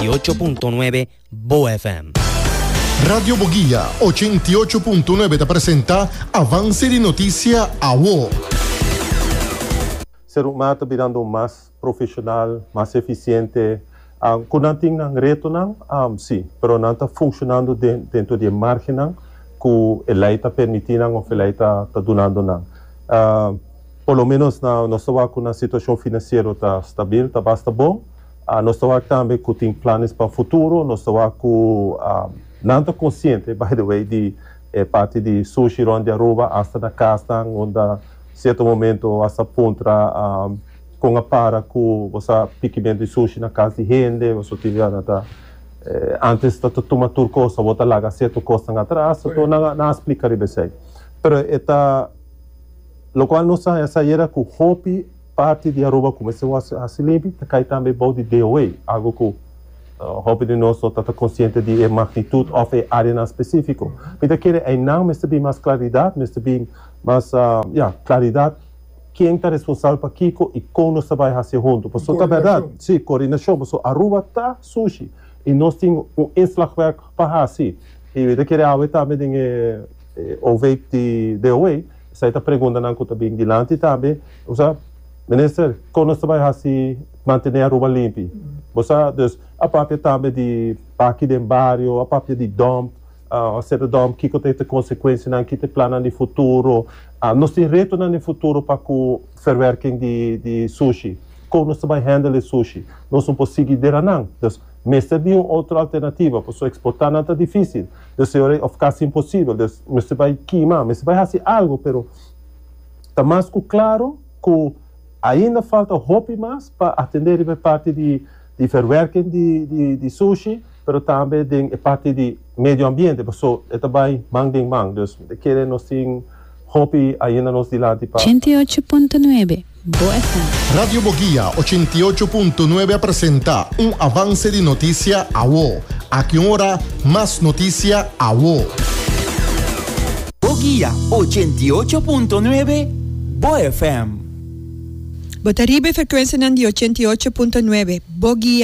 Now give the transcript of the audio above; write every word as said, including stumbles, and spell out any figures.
ochenta i ocho punto nuebe Bo F M. Radio Boguia ochenta i ocho punto nuebe ta presenta Avance di Noticia Awo. Serumar ta birando mas profesional, mas eficiente. Um, cu nan tin nan retonan, um, si, pero nan ta funcionando den, den e margen cu e ley ta permitiendo of e ley ta, ta dunando nan. Uh, por lo menos na nos ta cu e situacion financiero ta stabil, ta basta bon. Uh, nos ta tambe cu tin planos pa futuro, nos ta cu uh, nan ta consciente, by the way, di eh, parti di sushi rond di Aruba, hasta na cas, unda cierto momento hasta puntra um, con a para cu bo pikimento di sushi na cas di hende, bo tin ta eh, antes ta tuma tur cos, bo ta laga cierto cos atras, anto nan nan a splica riba esey. Pero e ta locual nos a sa cu hopi parti di Aruba cuminsa haci limpi, ta cay tambe bou di D O A, algo cu uh, hopi di nos ta consciente di magnitud of e area specifico. Mi ta kere ey mester bin mas claridad, mester bin mas uh, ja, claridad ken ta responsabel pa kico y con nos ta bay haci hunto. Pasobra ta berdad, si, coordinacion, pasobra Aruba ta sushi y nos tin un inslagwerk pa haci. Y mi ta kere awe tambe den eh, O V di D O A, esey ta pregunta nan cu ta bin dilanti tambe, osea, minister, con nos ta bay haci mantene Aruba limpi? Osea, dus a papia tambe di parke di bario, a papia di dump, uh, ser dump, kico ta e consecuencianan, kico ta plan di futuro. Uh, nos tin reto den futuro pa cu verwerking di, di sushi. Con nos ta bay handle sushi? Nos no por sigui dera nan. Dus, mester bin un otro alternativa, pasobra exporta nan ta dificil. Dus, of casi imposibel. Dus, mester bay kima, mester bay haci algo, pero ta mas cu claro cu ainda falta hopi mas pa atende e parti di, di verwerking di, di, di sushi, pero tambe den e parti di medio ambiente, pasobra e ta bay man den man. Dus, kere nos tin hopi ainda nos dilanti pa ochenta i ocho punto nuebe Bo F M. Radio Boguia ochenta i ocho punto nuebe ta presenta un avance di noticia Awo. Aki ora, mas noticia Awo. Boguia ochenta i ocho punto nuebe Bo F M. Bo ta riba e frecuencia di ochenta i ocho punto nuebe. Boguia.